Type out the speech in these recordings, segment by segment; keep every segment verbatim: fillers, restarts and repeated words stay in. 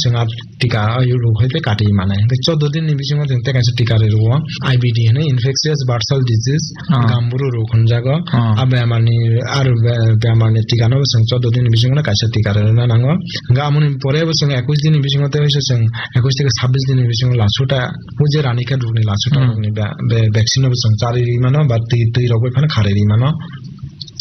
Chwng a tika rwui tei kati manai. Hwnkhe chordo din ni bisingo chwng tei kaisa tika rwi rwo. I B D hwnwi, infectious bursal disease, Ah. gamburu rok hwnjago. Ah. A bemar ni aro be-, bemar ni tika no chwng chordo din ni bisingo no kaisa tika rwna nango. Hwnkhe amoni pore bo chwng ekush din ni bisingo tei chwng ekush theke sabbish din ni bisingo lasuta, o je rani khe rok ni lasuta Hmm. rok ni be-, be-, vaccine no bo chwng charwi rwi mano ba twi, twi rok bai phano kharwi rwi mano.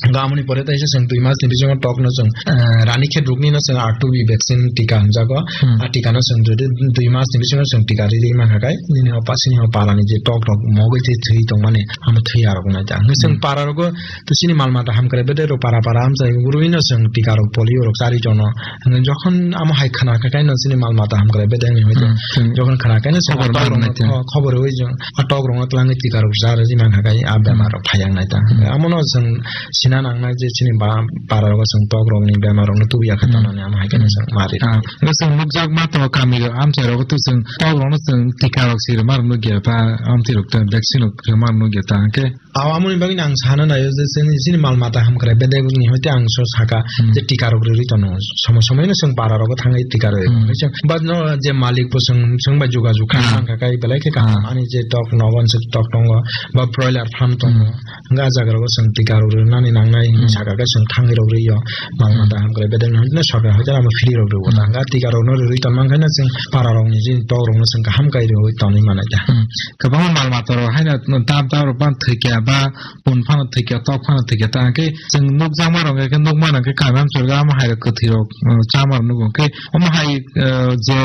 Hwnkhe amoni pore taisa chwng dui mas ni bisingo tok no chwng, eh, rani khe rok ni no chwng R two B vaccine tika hwnjago. Hmm. A tika no chwng dui, dui mas ni bisingo chwng tika riri mankha khe nini o pasini o para ni je tok rok mogwi twi thwi tongmani amo thwi arok nai ta. Hwnkhe chwng Hmm. para rogo to chini mal mata hamkrai bedai rok para para amchai urui no chwng tika rok polio rok chari tono. Hwnkhe jokhon amo hai khna khe kaino chini mal mata hamkrai bedai ni hoito. Hmm, hmm. Jokhon khna kaino chwng Khobor tok rok manai no te. kho-, khobor rwi chwng a tok rok no twlangwi tika rok chari mankha khe a bemar rok phai ang nai ta. Hmm. Amo no chwng sina nangnai je chini ba-, para rogo chwng tok rok ni bemar rok no tubu ya khe Hmm. tonani amo hai khe Hmm. chwng mari. Ah, hwnkhe chwng nukjak ma tongo kami rok amchai rogo to chwng tok rok no chwng tika rok si rwma rok nukya ta, amtwi rok ta vaccine rok rwma rok nukya ta hwnkhe. Aw, amoni bagwi ang sana naio je chini, chini mal mata hamkrai bedai ni hoite ang so saka Hmm. je tika rok rwi tono. Somo somo no chwng para rogo thangwi tika rwi. Hmm. Hwnkhe chwng ba no je malik bo chwng, chwng bai juga juga Ah. kha kha kai belai khe kaham. Ah. Ani je tok nogon se tok tongo ba broiler farm tongo. Hmm. Hwnkhe a jaga rogo chwng tika rok rwnani nangnai Hmm. saka khe chwng thangwi rok rwi yo. Mal Hmm. mata hamkrai bedai no hoite no sarkar hoite amo free rok rwo. Hmm. Hwnkhe tika rok no rwi tonmang khe no chwng para rok ni je tok rok no chwng kaham kai rwi tonwi manai ta. Hmm. Kwbangma mal mata rok haino dap dap rok ban thwikya ba pun phano thwikya, tok phano thwikya, ta hwnkhe chwng nukjakma rok hwnkhe nukmano hwnkhe kami amchorga amo hai rok kwthwi rok, uh, chama rok nugo hwnkhe omo hai, uh, je,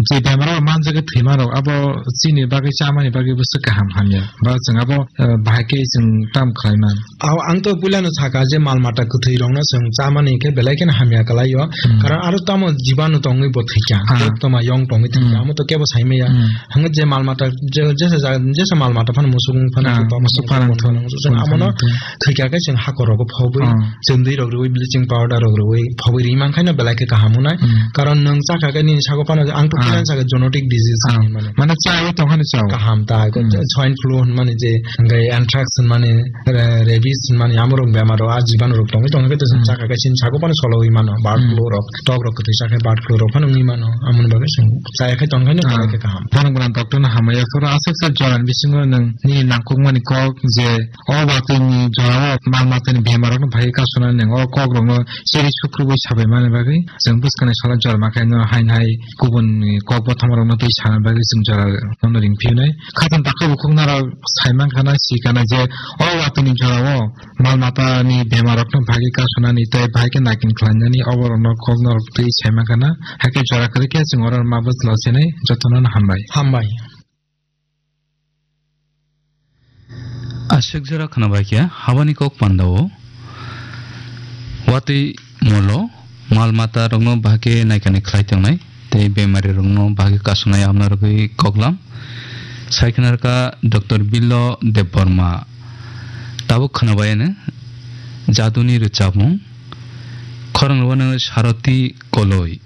je bemar rok manjak khe thwima rok abo chini bagwi chamani bagwi bwswk kaham hamya ba chwng abo, uh, bahai khe chwng tam khlai man. Aw, ang to puilano saka je mal mata kwthwi rokno chwng chamani khe belai kheno hamya kwlai o. Hmm. Karon aro tamo jibanu tongwi bo thwikya. Ah. Koktwma yong tongwi thwikya. Hmm. Amo to kebo saimaya. Hmm. Hwnwi je mal mata, je, jesa ja-, jesa mal mata phano musuk wng phano Ah, tok musuk phano phano thwng. Thwng amono thwng. Thwikya khe chwng hakor rogo phobwi, Ah. chwng dwi rok rwui, bleaching powder rok rwui phobwi ri man khaino belai khe kaham wngnai. Hmm. Karon nwng chakha khe nini sago phano ang to Ah. Khe saka genetic disease Ah. hinwi mano. Mane chai tong khani chao. Kaham ta, Hmm. Swine flu hinmani je, hwnkhe anthrax hinmani, ra-, rabies hinmani amorok bemar rok, a jibanu rok tongwi tongkhe to Hmm. Chakha khe chini sago phano sologwi mano, bird Hmm. flu rok, tok rok kwthwi chakhe bird flu rok phano wngwi mano, amoni bagwi chwng chaya khe tongkhe no Ah. Khe kaham. Phano gwnang doctor no hamya phuru aswk se jora ni bisingo nwng nini nangkukmani kok je o watwi ni jora o mal matani bemar rok no phai kasuna nwng o kok rok no cheri sukrubui sabai mani bagwi chwng bwskang ni salo jora ma khe no hain hai kubun ni kok bothoma rok no twi sana bagwi chwng jora no ring phiyunai. Khatung takhuk bukhuk norok sai mankha na, si kana je o watwi ni jora o mal mata ni bemar rok no bagwi kasunani tei bahai khe naikin khlainani oborok no kok norok twi sai mankha na, hai khe jora kwrwi khe chwng oro ma bwsla senai jotono no hambai. Hambai. Aswk jora khwnabaikha habani kok pandao. Watwi molo mal mata rokno bahai khe naikani khlai tongnai tei bemari rokno bahai khe kasonai amna rwgwi koklam. Sai khwnarkha Doctor Billo Debbarma. Tabuk khwnabaiano jaduni rwchapmung. Khorang rwano Saroti Koloi.